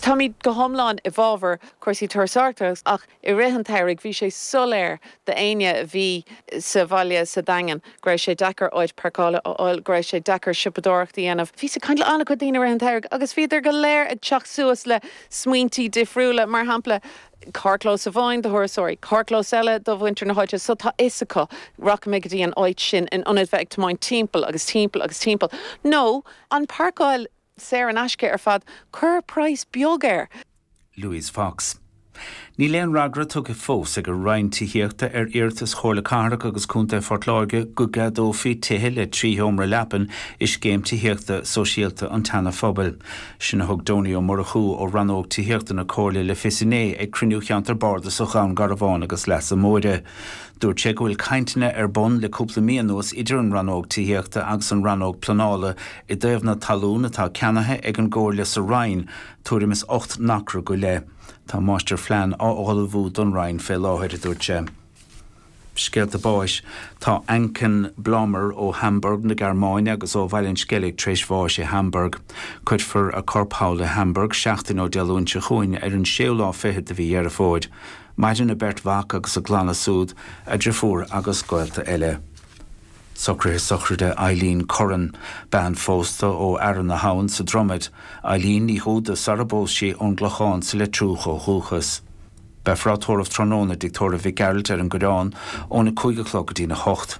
Táimid go hiomlán i bhfabhar cúrsaí turasóireachta ach i rith an tsamhraidh bhí sé soiléir d'éinne a bhí sa bhaile sa Daingean go raibh sé deacair áit páirceála a fháil, go raibh sé deacair siopadóireacht a dhéanamh. Bhíos ag caint le an-chuid daoine i rith an tsamhraidh agus bhíodar go léir ag teacht suas le smaointí difriúla, mar shampla carrchlós amháin do thurasóirí, carrchlós eile do mhuintir na háite so tá fhios acu rachaidh mé go dtí an áit sin in ionad bheith ag tiomáint timpeall agus timpeall agus timpeall. Nó an páirceáil saor in aisce ar fad, cuir praghas beag air. Louise Fox. Níl aon fhreagra tugtha fós ag an Roinn Tithíochta ar iarratas Chomhairle Cathrach agus Contae Phort Láirge go gceadófaí tithe le 3 sheomra leapan i scéim tithíochta sóisialta an tSeana-Phobail. Sin a thug Donie Ó Murchú ó Rannóg Tithíochta na Comhairle le fios inné ag cruinniú Cheantar Bardasach Dhún Garbhán agus Leasa Móire. Dúirt sé go bhfuil cainteanna ar bun le cúpla mí anuas idir an Rannóg Tithíochta agus an Rannóg Pleanála i dtaobh na talún atá ceannaithe ag an gComhairle sa Rinn, tuairim is 8 n-acra go leith. Tá máistirphlean á ullmhú don Roinn fé láthair, a dúirt sé. Scéalta báis Tá Anken Blommer ó Hamburg na Gearmáine agus ó Bhaile an Sceilg tar éis bháis i Hamburg. Cuirfear a corp thall i Hamburg seachtain ó Dé Luain seo chugainn ar an séú lá fichead de mhí Dheireadh Fómhair. Maireann a beirt mhac agus a gclanna súd, a driofúr agus gaolta eile. Socruithe sochraide Eileen Curran, bean phósta ó Fhearann na hAbhann sa Dromaid, Eileen Ní Dhúda sara bpós sí ón gClochán sa Leitriúch ó dhúchas. Beifear á tórramh tráthnóna i dTigh Tórraimh Mhic Gearailt ar an gCoireán óna 5 a chlog go dtína 8.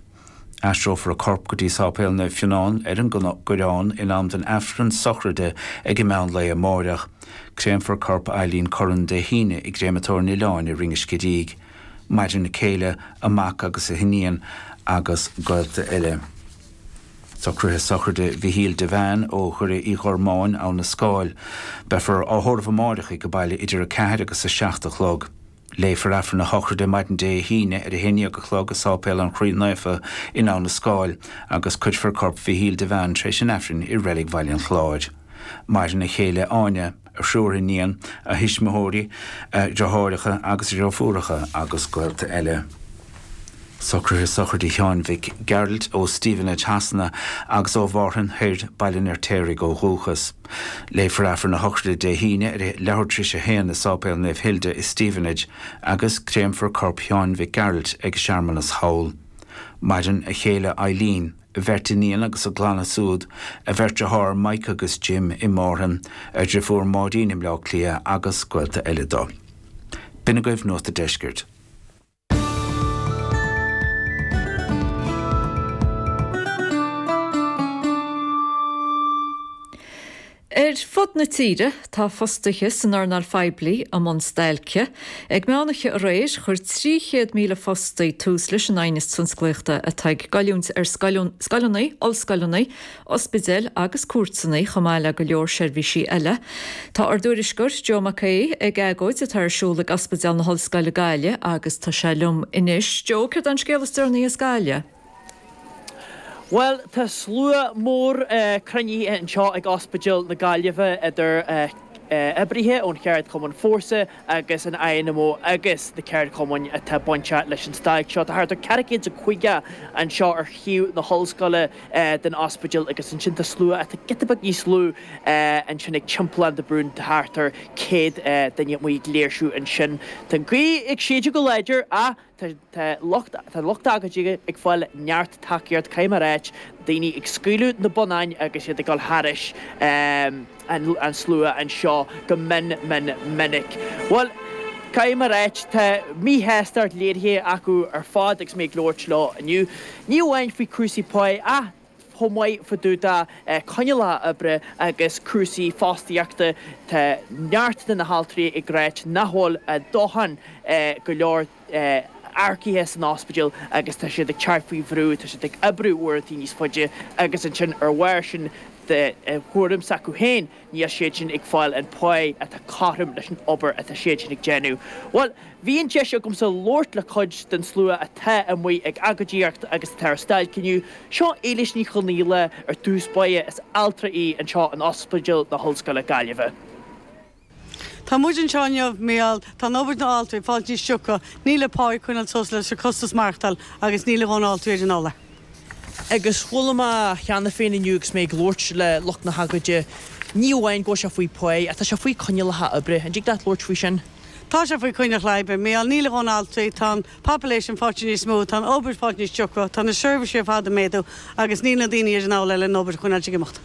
Aistreofar a corp go dtí Sáipéal Naomh Fionán ar an gCoireán in am don Aifreann sochraide ag an meán lae amáireach. Créamfar corp Eileen Curran Dé hAoine i gCréamatóir an Oileáin i Rinn an Scidígh. Maireann a céile, a mac agus a hiníon agus gaolta eile. Socruithe sochraide Mhichíl Devane ó Dhoire Uí Ghormáin, Abha na Scáil. Beifear á thórramh amáireach ag baile idir 4 agus 7 a chlog. Léifear Aifreann a shochraide maidin Dé hAoine ar 11 a chlog i Sáipéal an Chroí Naofa in Abha na Scáil agus cuirfear corp Mhichíl Devane tar éis an Aifrinn i Reilig Bhaile an Chláir. Maireann a chéile Áine, a thriúr iníon, a thuismitheoirí, a dhriotháireacha agus a dhriofúracha agus gaolta eile. Socruithe sochraide Sheáin Mhic Gearailt ó Stevenage Shasana agus ó Mhárthain Thoir, Baile an Fheirtéaraigh ó dhúchas. Léifear Aifreann a shochraide Dé hAoine ar a leathuair tar éis a haon i Sáipéal Naomh Hilda i Stevenage agus créamfar corp Sheáin Mhic Gearailt ag searmanas thall. Maireann a chéile Eileen. a bheirt iníon agus a gclanna súd, a bheirt dearthár Mike agus Jim i Márthain, a dhriofúr Máirín i mBleá Cliath agus gaolta eile dó. B'in agaibh Nuacht a' Deiscirt. Ar fud na tíre, tá fostaithe san earnáil phoiblí i mbun stailce. Ag meánoíche aréir, chuir 300,000 fostaí tús leis an aighneas tionsclaíochta atá ag goilliúint ar scoileanna, ollscoileanna, ospidéil agus cúirteanna, chomh maith le go leor seirbhísí eile. Tá ár dtuairisceoir, Joe Mac Aodha, ag agóid atá ar siúl ag Ospidéal na hOllscoile Gaillimh agus tá sé liom anois. Joe, céard é an scéal is deireanaí as Gaillimh? Bhuel, tá slua mór cruinnithe anseo ag Ospidéal na Gaillimhe idir oibrithe ón cheardchumann Fórsa agus an INMO agus na ceardchumainn atá bainteach leis an stailc seo. Tá thart ar 450 anseo ar thaobh na hollscoile den ospidéal agus ansin tá slua atá giota beag níos lú ansin ag Timpeallán de Brún, thart ar 100 duine amuigh ag léirsiú ansin. Tá an ghaoth ag séideadh go láidir ach Tá lucht tá lucht agóide ag fáil neart tacaíocht, caithfidh mé a ráit, daoine ag scaoileadh na bonnáin agus iad ag dul thairis an slua anseo go mion mion minic. Bhuel, caithfidh mé a ráit, tá míshástacht léirithe acu ar fad agus mé ag labhairt leo inniu, ní amháin faoi cúrsaí páí ach chomh maith fá dtaobh de coinníollacha oibre agus cúrsaí fostaíochta. Tá neart de na haltraí ag ráit nach bhfuil a ndóthain go leor earcaithe san ospidéal agus tá siad ag teacht faoi bhrú, tá siad ag oibriú uaireanta níos faide agus ansin ar bharr sin de thuairim s'acu féin níl siad sin ag fáil an pá atá cothrom leis an obair atá siad sin ag déanamh. Bhuel, bhí an deis agamsa labhairt le cuid den slua atá amuigh ag agóidíocht agus atá ar stailc inniu. Seo Éilís Ní Chonaola ar dtús báire, is altra í anseo in Ospidéal na hOllscoile Gaillimhe. Tá muid anseo inniu mar gheall tá an obair na altraí ag fáilt níos sioctha, níl an pá ag coinneáil suas leis an costas maireachtáil agus níl a dhóthain altraí ar an othar. Agus chuala mé cheana féin inniu agus mé ag labhairt le lucht na hagóide. Ní amháin go bhfuil sé faoi pá, ach tá sé faoi coinníollacha oibre. An dtig leat labhairt faoi sin? Tá sé faoi choinníollacha oibre. Mícheál, níl a dhóthain altraí, tá an population fáite níos mó, tá an obair fáite níos deacra, tá na seirbhísí ar fad ag méadú agus níl na daoine ar an eolas le an obair a choinneáil ag imeacht.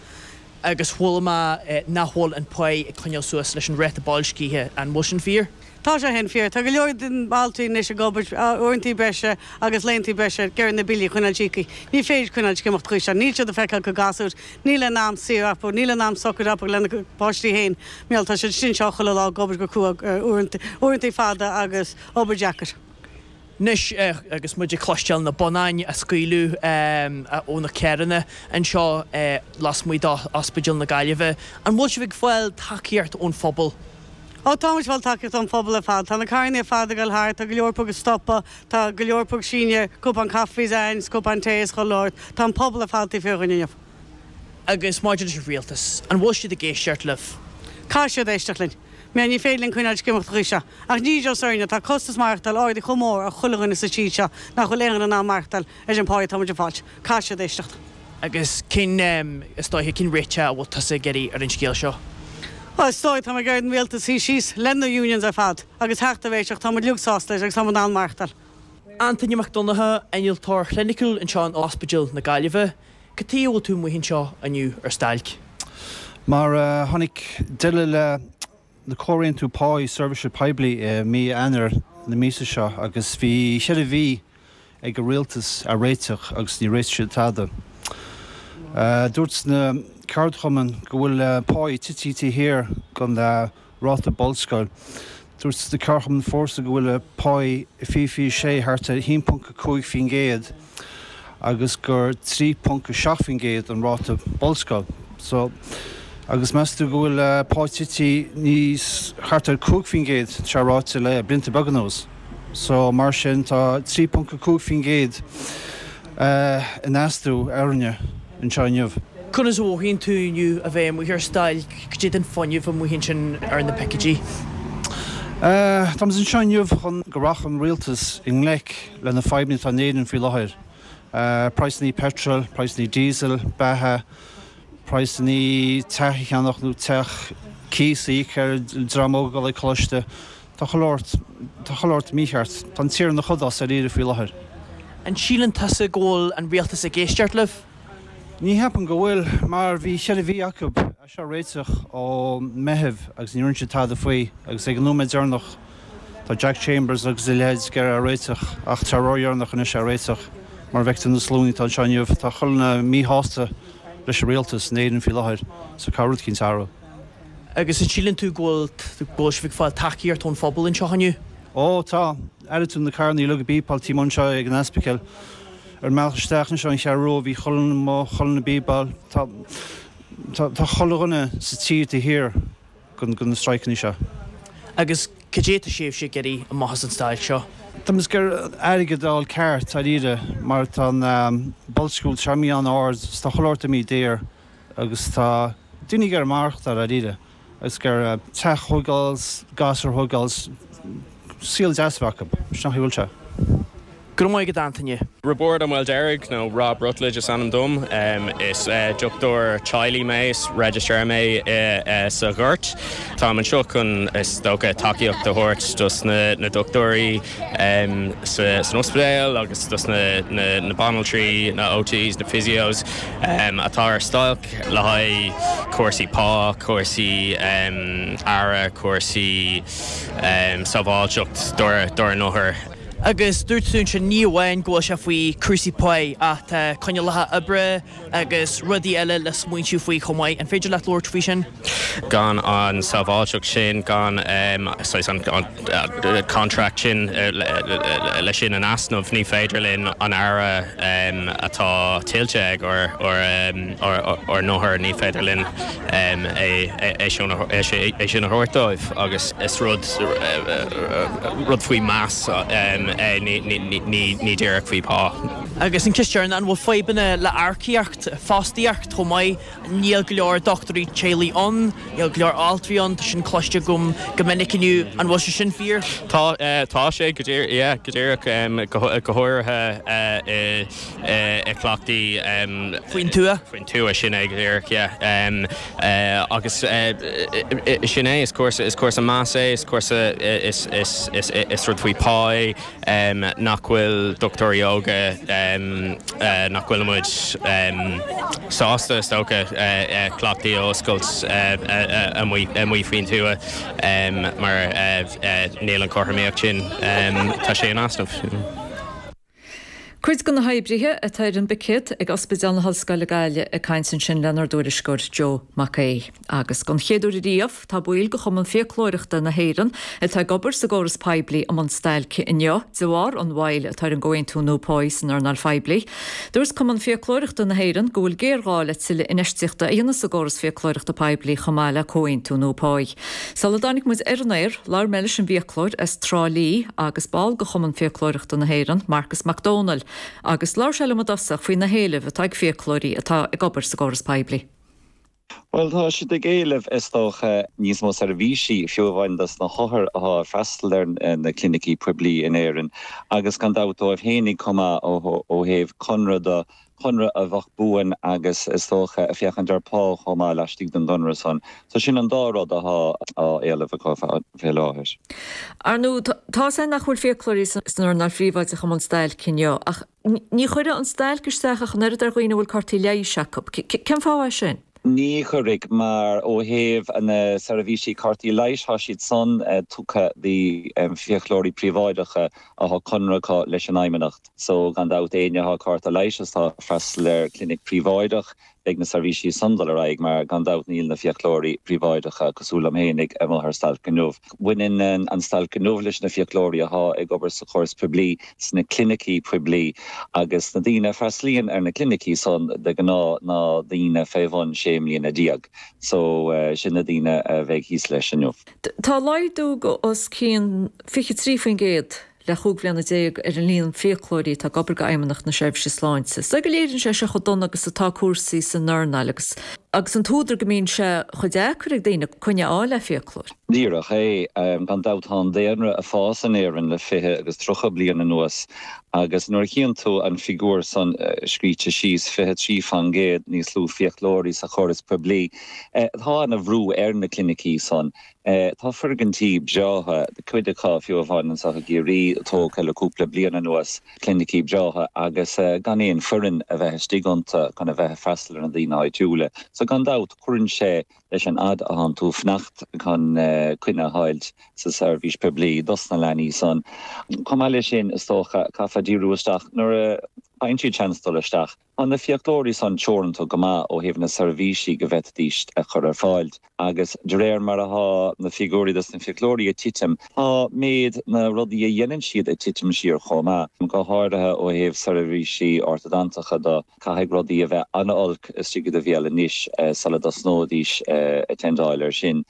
Agus chuala mé nach bhfuil an pá ag coinneáil suas leis an ráta boilscithe, an bhfuil sin fíor? Tá sé sin fíor. Tá go leor den altraí anois ag obair uaireantaí breise agus laethantaí breise ag iarraidh na billí a choinneáil íoctha. Ní féidir coinneáil ag imeacht chuige seo. Níl siad ag feiceáil a gcuid gasúir. Níl aon am saor acu, níl aon am socair acu lena bpáistí féin. Mícheál, tá siad istigh anseo chuile lá ag obair go crua, uaireantaí fada agus obair deacair. Anois, agus muid ag cloisteáil na bonnáin á scaoileadh ó na carranna anseo lasmuigh d'Ospidéal na Gaillimhe, an bhfuil sibh ag fáil tacaíocht ón phobal? Ó, tá muid ag fáil tacaíocht ón phobal ar fad. Tá na carrannaí ar fad ag dul thart, tá go leor acu ag stopadh, tá go leor acu ag síneadh cupán caife againn 's cupán tae is chuile shórt. Tá an pobal ar fad taobh thiar dhínn inniu. Agus maidir leis an rialtas, an bhfuil siad ag éisteacht libh? Caithfidh siad éisteacht linn. Mar ní féidir linn coinneáil ag imeacht an chaoi seo. Ach ní just orainne, tá costas maireachtáil ardaithe chomh mór ar chuile dhuine sa tír seo nach bhfuil aon dhuine in ann maireachtáil ar an pá atá muid ag fáilt. Caithfidh siad éisteacht. Agus cén, is dóiche, cén réiteach a bhfuil tusa ag iarraidh ar an scéal seo? Bhuel, is dóigh, tá mé ag iarraidh an rialtas suí síos le na unions ar fad agus theacht ar réiteach, tá muid uilig sásta leis agus tá muid in ann maireachtáil. Antaine Mac Donncha, Innealtóir Cliniciúil anseo in Ospidéal na Gaillimhe. Cad chuige a bhfuil tú amuigh anseo inniu ar stailc? Mar tháinig deireadh le le comhaontú páí seirbhíse poiblí i mí Eanáir na míosa seo agus bhí cheithre mhí ag an rialtas a réiteach agus ní réitigh siad tada. Dúirt na ceardchumainn go bhfuil páí tití taobh thiar den ráta bolscáil. Dúirt na ceardchumainn Fórsa go bhfuil páí i 2026 thart ar 1.5% agus gur 3.7% an ráta bolscáil. So, agus meas tú go bhfuil pá tití níos thart ar 5% tá sé ráite le blianta beaga anuas. So, mar sin tá 3.5% in astú orainne anseo inniu. Conas a mhothaíonn tú inniu a bheith amuigh ar stailc? Cad é den fuinneamh amuigh ansin ar na picéidí? Táimid anseo inniu chun go rachadh an rialtas i ngleic le na fadhbanna atá in Éirinn faoi láthair. Praghsanna peitril, praghsanna diesel, beatha, praghsanna teach a cheannach nó teach cíos a íoc ar dream óg ag dul ag coláiste. Tá chuile shórt, tá chuile shórt mícheart. Tá an tír ina chodás dáiríre faoi láthair. An síleann tusa go bhfuil an rialtas ag éisteacht libh? Ní cheapaim go bhfuil, mar bhí cheithre mhí acu é seo a réiteach ó Meitheamh agus ní rinne siad tada faoi agus ag an nóiméad deireanach tá Jack Chambers agus a leithéid ag iarraidh é a réiteach ach tá ródheireanach anois é a réiteach mar a bhfeictear na sluanna atá anseo inniu tá chuile dhuine míshásta leis an rialtas in Éirinn faoi láthair so caithfidh rud eicínt athrú. Agus an síleann tú go bhfuil go bhfuil sibh ag fáil tacaíocht ón phobal anseo inniu? Ó tá. Airigh tú na carranna uilig ag bípeáil taobh amuigh anseo ag an ospidéal. Ar an mbealach isteach anseo an Cheathrú Rua bhí chuile dhuine amuigh, chuile dhuine ag bípeáil. Tá tá tá chuile dhuine sa tír taobh thiar den den na strikeanna seo. Agus cad é atá sibhse ag iarraidh amach as an stailc seo? Tá muid ag iarraidh airgead a fháil ceart, dáiríre, mar tá an boilsciú tá sé imithe an-ard 's tá chuile shórt imithe daor agus tá daoine ag iarraidh maireachtáil dáiríre agus ag iarraidh teach a thógáil, gasúir a thógáil, saol deas a bheith acu. Sin an chaoi a bhfuil sé. Go raibh maith agat Antaine. Roibeárd Ó Maoildeirg, nó Rob Rutledge is ainm dom. Is dochtúir teaghlaigh mé, is registrar mé sa Ghort. Táim anseo chun, is dócha, tacaíocht a thabhairt dos na dochtúirí san ospidéal agus dos na banaltraí, na OTs, na physios atá ar stailc le haghaidh cúrsaí pá, cúrsaí aire, cúrsaí sábháilteacht dár n-othair. Agus dúirt tú ansin ní amháin go bhfuil sé faoi cúrsaí páí ach tá coinníollacha oibre agus rudaí eile le smaointiú faoi chomh maith. An féidir leat labhairt faoi sin? Gan an sábháilteacht sin, gan saghas an contract sin le sin in easnamh, ní féidir linn an aire atá tuillte ag ár n-othair, ní féidir linn é sin a thabhairt dóibh agus is rud rud faoi meas é, ní díreach faoi pá. Agus an cheist dheireanach, an bhfuil fadhbanna le earcaíocht, fostaíocht chomh maith? Níl go leor dochtúirí teaghlaigh ann, níl go leor altraí ann, tá sin cloiste agam go minic inniu. An bhfuil sé sin fíor? Tá, tá sé go díreach, yeah, go díreach, go háirithe i gcleachtaí. Faoin tuath? Faoin tuath, sin é go díreach, yeah. Agus sin é, is cúrsa, is cúrsa measa é, is cúrsa, is, is, is, is rud faoi pá é. nach bhfuil dochtúirí óga, nach bhfuil muid sásta, is dócha, cleachtaí a oscailt amuigh faoin tuath mar níl an chothromaíocht sin, tá sé in easnamh. Cuid de na hoibrithe atá ar an bpicéad ag Ospidéal na hOllscoile Gaillimh ag caint ansin lenár dtuairisceoir Joe Mac Aoidh. Agus don chéad uair ariamh, tá baill de Chumann Fiaclóireachta na hÉireann atá ag obair sa gcóras poiblí i mbun stailce inniu de bharr an mhoill atá ar an gcomhaontú nua páí san earnáil phoiblí. Dúirt Cumann Fiaclóireachta na hÉireann go bhfuil géarghá le tuilleadh infheistíochta a dhéanamh sa gcóras fiaclóireachta poiblí chomh maith le comhaontú nua páí. Sula dtáinig muid ar an aer, labhair mé leis an bhfiaclóir as Trá Lí agus ball de Chumann Fiaclóireachta na hÉireann, Marcus Mac Dónaill, agus labhair sé liom i dtosach faoi na héilimh atá ag fiaclóirí atá ag obair sa gcóras poiblí. Bhuel, tá siad ag éileamh, is dócha, níos mó seirbhísí, fiú amháin dos na hothair atá ag freastal ar na clinicí poiblí in Éirinn, agus gan dabht dóibh fhéinig chomh maith ó thaobh conradh de, conradh a bheadh buan agus is dócha ag féachaint ar pá chomh maith laistigh den gconradh san. So sin an dá rud atá á éileamh acu fé láthair. Ar ndóigh, tá a fhios againn nach bhfuil fiaclóirí san earnáil phríobháideach i mbun stailce inniu, ach Ní chuirfidh an stailc isteach ach an oiread ar dhaoine a bhfuil cártaí leighis acu. Cén fáth é sin? Ní chuirfidh, mar ó thaobh na seirbhísí cártaí leighis, tá siad san tugtha do fiaclóirí príobháideacha atá conradh acu leis an Fheidhmeannacht. So, gan dabht, éinne atá cárta leighis is atá ag freastal ar clinic príobháideach, beidh na seirbhísí san dul ar aghaidh mar gan dabht níl na fiaclóirí príobháideacha cosúil liom fhéinig amuigh ar stailc inniu. Baineann an stailc inniu leis na fiaclóirí athá ag obair sa chóras poiblí, sna clinicí poiblí agus na daoine a freastalaíonn ar na clinicí san de ghnáth ná daoine fé bhun 16 mbliana. So sin na daoine a bheidh thíos leis inniu. Tá laghdú os cionn 23% le 15 bhliana ar an líon fiaclóirí atá ag obair do Fheidhmeannacht na Seirbhíse Sláinte. Is dóigh go léiríonn sé seo chomh dona agus atá cúrsaí san earnáil agus agus an t-údar go mbíonn sé chomh deacair ag daoine coinne a fháil le fiaclóir. Díreach é. Gan dabht tá an daonra ag fás in Éirinn le 20 agus 30 bliain anuas agus nuair a chíonn tú an figiúr san scríte síos, 23 fan gcéad níos lú fiaclóirí sa chóras poiblí, tá ana bhrú ar na clinicí san. Tá foirgintí breátha, cuid acu fiú amháin anseo i gCiarraí, tógtha le cúpla bliain anuas, clinicí breátha agus gan aon foireann a bheith istigh iontu chun a bheith ag freastal ar na daoine áitiúla. So gan dabht cuireann sé leis an fhad a thánn tú ag fanacht chun coinne a fháilt sa seirbhís poiblí dos na leanaí san. Chomh maith leis sin is dócha caithfear díriú isteach nuair a fhaigheann siad seans dul isteach. Tá na fiaclóirí san teoranta go maith ó thaobh na seirbhísí go bhféadfaidís a chur ar fáil agus de réir mar athá na figiúirí dos na fiaclóirí ag titim, tá méid na rudaí a dhéanann siad ag titim siar chomh maith, go háirithe ó thaobh seirbhísí ortadantacha do. Caithfidh rudaí a bheith an-olc istigh i do bhéal anois sula dtosnóidís ag tendáil air sin.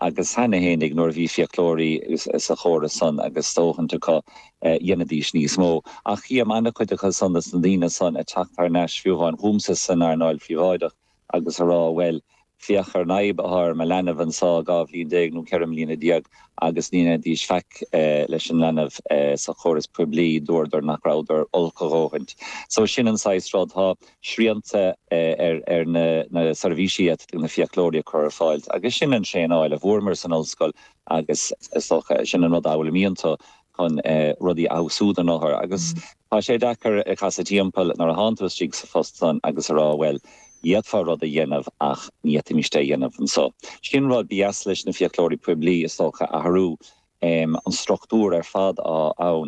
Agus cheana fhéinig nuair a bhí fiaclóirí sa chóras san agus dóthaint acu, dhéanfaidís níos mó. Ach chím an-chuid acu san, dos na daoine san, ag teacht thar n-ais fiú amháin chugamsa san earnáil phríobháideach agus a rá bhuel, féach ar an fhadhb atá ar mo leanbh anso, 12 bhliain nó 14 mbliana agus ní dhéanfaidís faic leis an leanbh sa chóras poiblí, dúradar nach rabhadar olc a dhóthaint. So sin an saghas rud. Tá srianta ar na seirbhísí a na fiaclóirí a chur ar fáil agus sin an traenáil a bhfuaireamar san ollscoil agus is dócha sin an rud a fhoghlaimíonn tú chun rudaí a fheabhsú don othar agus tá sé deacair casadh timpeall nuair a thánn tú istigh sa phost san agus a rá bhuel d'fhéadfá rud a dhéanamh ach ní fhéadfaimis é a dhéanamh anso. Sin rud ba dheas leis na fiaclóirí poiblí is dócha athrú an struchtúr ar fad atá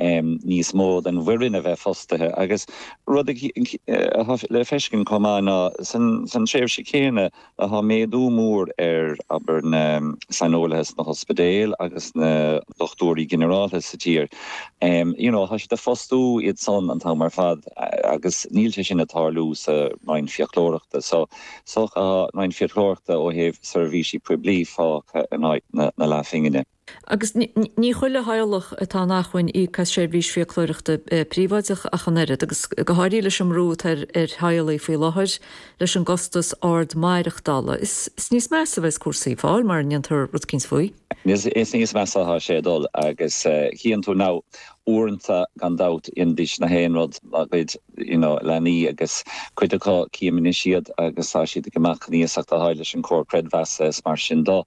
ann, níos mó den bhfoireann a bheith fostaithe agus rud atá le feiscint chomh maith ná san tréimhse chéanna tá méadú mór ar, abair, na saineolaithe sna hospidéil agus na dochtúirí ginearálta sa tír. You know, tá siad ag fostú iad san an t-am ar fad agus níl sé sin ag tarlú sa Roinn Fiaclóireachta. So, so tá an Roinn Fiaclóireachta ó thaobh seirbhísí poiblí fágtha in áit na leathphingine. Agus ní chuile theaghlach atá in acmhainn íoc as seirbhís fiaclóireachta príobháideach ach an oiread, agus go háirithe leis an mbrú atá ar theaghlaigh faoi láthair leis an gcostas ard maireachtála. Is níos measa a bheas cúrsaí ag fáil mara ndéantar rud eicínt faoi. Is níos measa atá sé ag dul agus chíonn tú now uaireanta gan dabht dhéanfaidís na haon rud dá gcuid you know leanaí agus cuid acu cím anois iad agus tá siad ag imeacht chun iasacht a fháil leis an Comhar Creidmheasa is mar sin do.